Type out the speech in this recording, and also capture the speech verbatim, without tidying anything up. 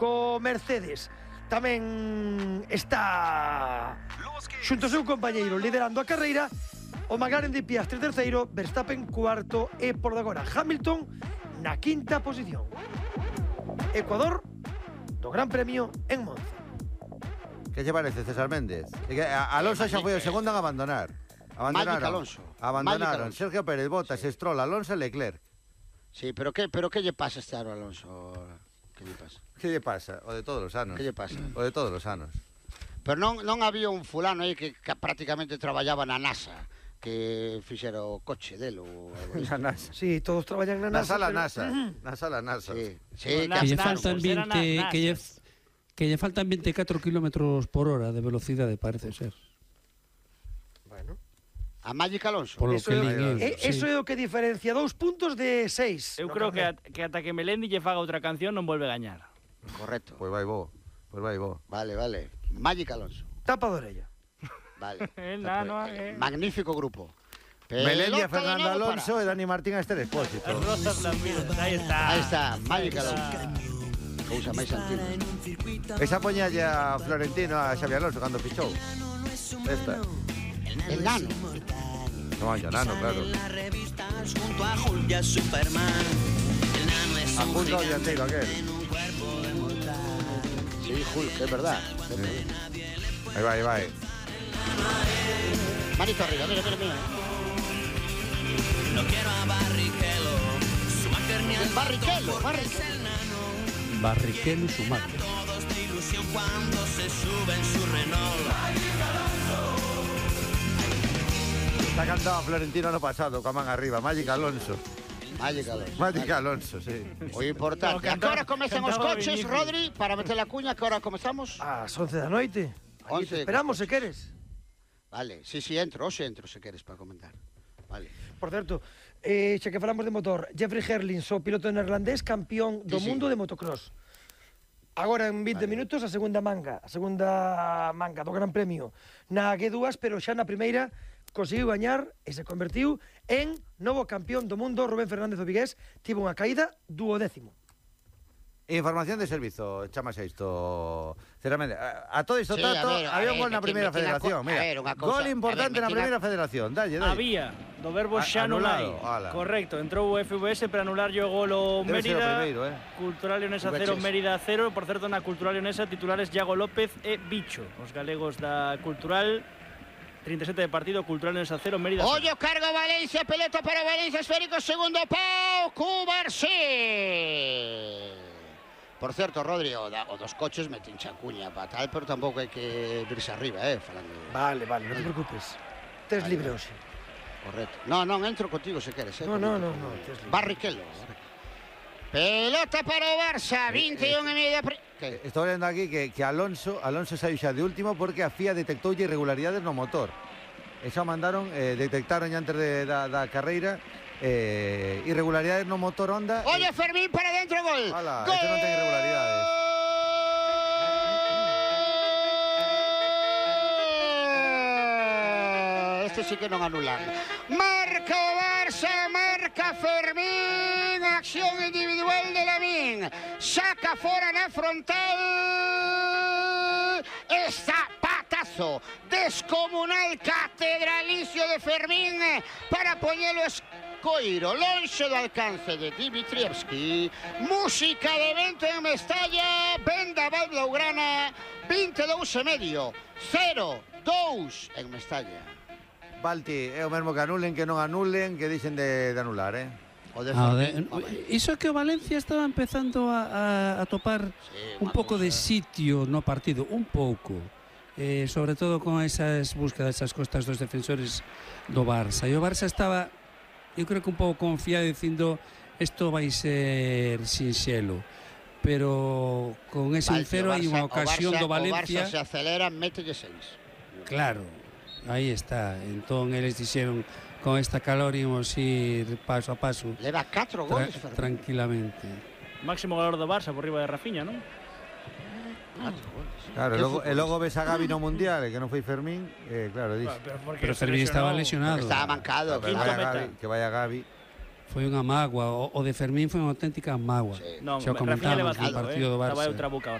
co Mercedes. Tamén está xunto ao seu compañeiro liderando a carreira o McLaren de Piastri terceiro, Verstappen cuarto e por agora Hamilton na quinta posición. Ecuador do Gran Premio en Monza. Que lle parece, César Méndez? Alonso xa foi o segundo en abandonar. Abandonaron. Alonso. Abandonaron. Sergio Pérez, Bottas, sí. Stroll, Alonso e Leclerc. Sí, pero que pero que lle pasa este ano, Alonso? Que lle pasa? Que lle pasa? O de todos os anos. Que lle pasa? O de todos os anos. Pero non non había un fulano aí que, que prácticamente traballaba na NASA, que fixera o coche dele ou na NASA. Sí, todos traballan na NASA. Na sala pero... NASA. Na sala NASA. Sí, sí, que lle faltan veinte que lle que lle faltan veinticuatro kilómetros por hora de velocidade, parece ser. Bueno. A Magic Alonso. Polo eso, que é, é, é, sí. Eso é o que diferencia dous puntos de seis. Eu creo que, at, que ata que Melendi lle faga outra canción non volve a gañar. Correcto. Pois vai bo. Pois vai bo. Vale, vale. Magic Alonso. Tapa de orella. Vale. El nano, eh. Magnífico grupo. Melendi a Fernando Alonso e Dani Martín a Esther Expósito. As rosas las miras. Aí está. Aí está, Magic Alonso. Cousa máis antiga. Esa poñalle a Florentino a Xavi Alonso cando fichou. Esta. El nano. No, yo nano, claro. Junto a Hulk y a Superman. El nano es a un punto gigante dianteiro aquel. en un cuerpo de mortal. Sí, Hulk, es verdad. Sí. Ahí va, ahí va. Eh. Manito arriba, mira, mira, mira. No quiero a Barrichello. Schumacher ni al Barrichello, Barrichello. Barrichello y Schumacher. Todos de ilusión cuando se sube en su Renault. Está cantado Florentino ano pasado, con a man arriba, Magic Alonso. Magic Alonso. Magic Alonso, sí. O importante. No, a que hora comezan os cantaba coches, Vinicius. Rodri? Para meter la cuña, que hora comezamos? Ás once da noite. Allí once te esperamos, se queres. Vale, sí, sí, entro, hoxe entro, se queres, para comentar. Vale. Por certo, eh, xa que falamos de motor, Jeffrey Herlings, o piloto neerlandés, campeón do Sí, sí. mundo de motocross. Agora en vinte Vale. minutos a segunda manga, a segunda manga do Gran Premio na G dúas, pero xa na primeira conseguiu gañar e se convertiu en novo campeón do mundo. Rubén Fernández o vigués tivo unha caída duodécimo. Información de servizo, chamase isto. Sinceramente, a, a todo isto Sí, tato, a ver, a había ver, un gol na metín- primeira metín a co- federación, a mira. ver, unha cousa, Gol a ver, importante na metín a- primeira federación, dalle, dalle. Había, do verbo A- xa non hai. anulado, ala. Correcto, entrou o F V S para anular o gol o Debe ser o Mérida. primeiro, eh. Cultural Leonesa V H S. cero, Mérida cero. Por certo, na Cultural Leonesa titulares Iago López e Bicho. Os galegos da Cultural. trinta e sete de partido, Cultural Leonesa cero, Mérida cero. Ollo, carga Valencia, pelota para Valencia, esférico, segundo pau, Cubarsí. Por certo, Rodri, o, da, o dos coches meten chacuña para tal, pero tampouco hai que virse arriba, eh, falando. Vale, vale, non te preocupes. Tes Vale, libre vale. hoxe. Correcto. No, non, entro contigo se queres, eh. No, no, no, no, tes libre. Barrichello. Pelota para o Barça, vinte e un e media... Pre... Que? Estou vendo aquí que, que Alonso Alonso saiu xa de último porque a F I A detectoulle irregularidades no motor. E xa mandaron, eh, detectaron antes de, da, da carreira eh, irregularidades no motor Honda. Ollo, Fermín para dentro, gol. Ala, Gol. este non ten irregularidades. Este sí que non anulan. Marca o Barça, marca Fermín, acción individual de Lamín. Saca fora na frontal. Está patazo descomunal, catedralicio de Fermín para poñelo escoiro lonxe do alcance de Dimitrievski. Música de vento en Mestalla, vendaval blaugrana, vinte e dous e medio, cero dous en Mestalla. Balti, é o mesmo que anulen, que non anulen, que dixen de, de anular, eh? O de Ah, Fermín, de, home. iso que o Valencia estaba empezando a, a, a topar Sí, un unha pouco de cousa. sitio no partido, un pouco. Eh, sobre todo con esas búsquedas, esas costas dos defensores do Barça. E o Barça estaba, eu creo que un pouco confiado dicindo isto vai ser sinxelo. Pero con ese un Vale, cero o hai unha Barça- ocasión o Barça, do Valencia. O Barça se acelera, mételle seis. Claro, aí está. Entón eles dixeron con esta calor ímos ir paso a paso Leva catro tra goles, Fermín. tranquilamente. Máximo goleador do Barça por riba de Rafinha, non? Catro goles. Claro, e Que logo, e futbolista. logo ves a Gavi no Mundial, e que non foi Fermín, eh, claro, dix. Pero, porque Pero se Fermín estaba lesionou. lesionado. Estaba mancado. Que Quinto vaya meta. Gavi, que vaya Gavi. Foi unha mágoa, o, o de Fermín foi unha auténtica mágoa. Sí. Non, Xa o Rafinha comentamos leva no cinco, partido eh. do Barça. Estaba outra boca